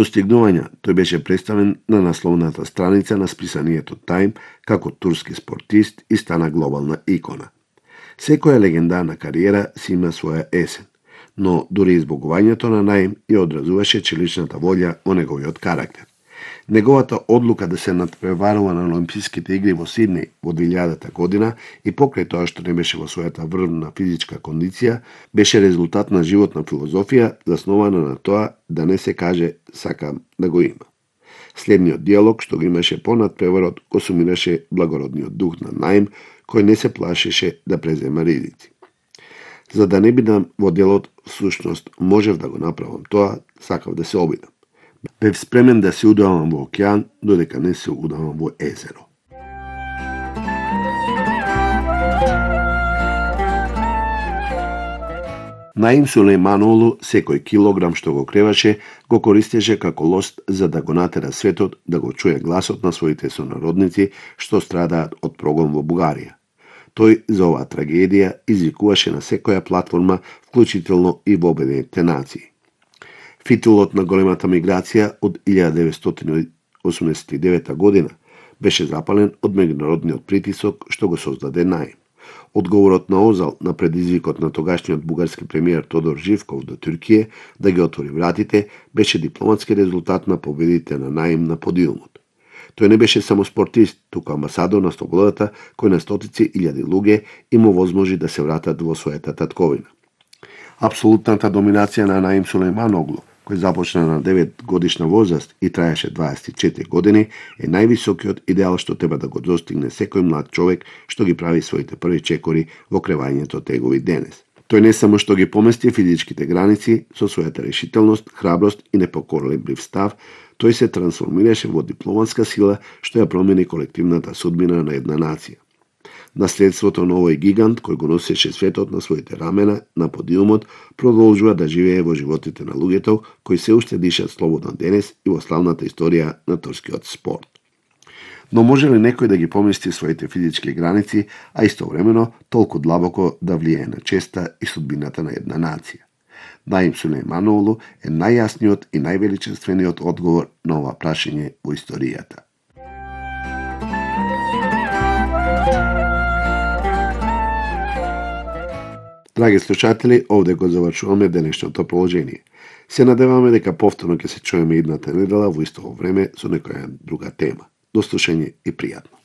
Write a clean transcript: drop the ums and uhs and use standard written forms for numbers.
Достигнувања тој беше представен на насловната страница на списанието Time како турски спортист и стана глобална икона. Секоја легендарна кариера си има своја есен, но дури избогувањето на Наим ја одразуваше челичната волја во неговиот карактер. Неговата одлука да се надпреварува на Олимписките игри во Сиднеј во 2000 година и покрај тоа што не беше во својата врвна физичка кондиција, беше резултат на животна филозофија заснована на тоа да не се каже сакам да го има. Следниот диалог што го имаше по надпреварот го сумираше благородниот дух на Наим, кој не се плашеше да презема ризици. За да не бидам во делот, всушност можев да го направам тоа, сакав да се обидам. Бев спремен да се удавам во океан, додека не се удавам во езеро. Наим Сулејманоглу секој килограм што го креваше го користеше како лост за да го натера светот да го чуе гласот на своите сонародници што страдаат од прогон во Бугарија. Тој за оваа трагедија извикуваше на секоја платформа, вклучително и во Обединетите нации. Фитилот на големата миграција од 1989 година беше запален од меѓународниот притисок што го создаде Наим. Одговорот на Озал на предизвикот на тогашниот бугарски премиер Тодор Живков до Туркија да ги отвори вратите беше дипломатски резултат на победите на Наим на подиумот. Тој не беше само спортист, туку амбасадор на слободата кој на стотици илјади луѓе им овозможи да се вратат во својата татковина. Апсолутната доминација на Наим Сулејманоглу, кој започна на 9 годишна возраст и траеше 24 години, е највисокиот идеал што треба да го достигне секој млад човек што ги прави своите први чекори во кревањето тегови денес. Тој не само што ги помести физичките граници со својата решителност, храброст и непоколеблив став, тој се трансформираше во дипломатска сила што ја промени колективната судбина на една нација. Наследството на овој гигант, кој го носеше светот на своите рамена на подиумот, продолжува да живее во животите на луѓето кои се уште дишат слободно денес и во славната историја на турскиот спорт. Но може ли некој да ги помести своите физички граници, а истовремено толку длабоко да влијае на честа и судбината на една нација? Наим Сулејманоглу е најјасниот и највеличествениот одговор на ова прашање во историјата. Драги слушатели, овде го завршуваме денешното положение. Се надеваме дека повторно ќе се чуеме идната недела во исто време со некоја друга тема. До слушање и пријатно.